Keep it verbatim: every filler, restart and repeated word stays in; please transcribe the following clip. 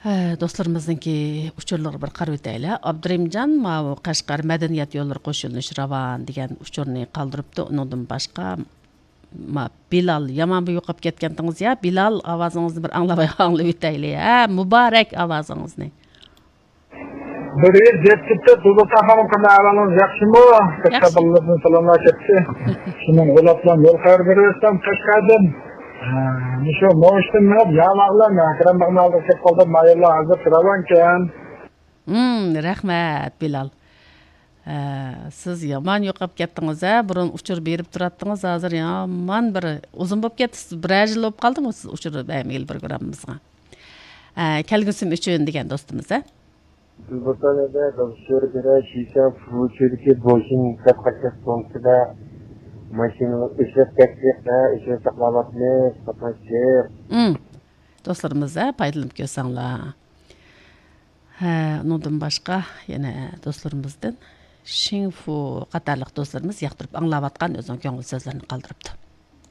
ھە، دوستلىرىمىزنىڭكى ئۇچۇرلىرىغا بىر قارىۋېتەيلى. ئابدۇرېھىمجان ماۋۇ قەشقەر مەدەنىيەت يوللىرى قوشۇنۇش راۋان دېگەن ئۇچۇرنى قالدۇرۇپتۇ. ئۇنىڭدىن باشقا ما، بىلال، يامان بىر يوقاپ كەتكەنتىڭىز يا. بىلال، ئاۋازىڭىزنى بىر ئاڭلاۋاي-، ئاڭلىۋېتەيلى. ھە، مۇبارەك ئاۋازىڭىزنى. بىر يىل جەپ كېتىپ، دۇلۇتاخانىم قىلماي ئەھۋالىڭىز ياخشىمۇ؟ ياخشى. كەچتە بالىلىرىمدىن سالاملار كەتتى. شۇنىڭ ئۇلاپلام يول خەۋەر بېرىۋەتسەم قەشقەردىن. ھە، مۇشۇ نوشتىن مېڭىپ ياۋاغلام، ھەكرەم باغنى ئالدىغا كەپ قالدىم. ماياللا ھازىر راۋانكەن. ھىم، رەھمەت، بىلال. ھە، سىز يامان يوقاپ كەتتىڭىز، ھە؟ بۇرۇن ئۇچۇر بېرىپ تۇراتتىڭىز، ھازىر يامان بىر ئۇزۇن بولۇپ كەتتى. سىز بىرەر يىل بولۇپ قالدىمۇ سىز ئۇچۇر بەرمىگىلى پروگراممىمىزغا؟ ھە، كەلگۈسىم ئۈچۈن دېگەن دوستىمىز، ھە؟ بىر بوتان ئەدە داۋشىرى بىرە شىشە فۇچىدىكى بوشىن دەپ قاچاق سومكىدا ماشىنىنى ئۆچۈرۈپ كەتتۇق، ھە، ئۆچۈرۈپ ساقلاۋاتىمىز، قاتناشچى. ھىم. دوستلىرىمىز، ھە، پايدىلىنىپ كۆرسەڭلار. ھە، ئۇنىڭدىن باشقا يەنە دوستلىرىمىزدىن شىڭفۇ قاتارلىق دوستلىرىمىز ياقتۇرۇپ ئاڭلاۋاتقان ئۆزىنىڭ كۆڭۈل سۆزلىرىنى قالدۇرۇپتۇ.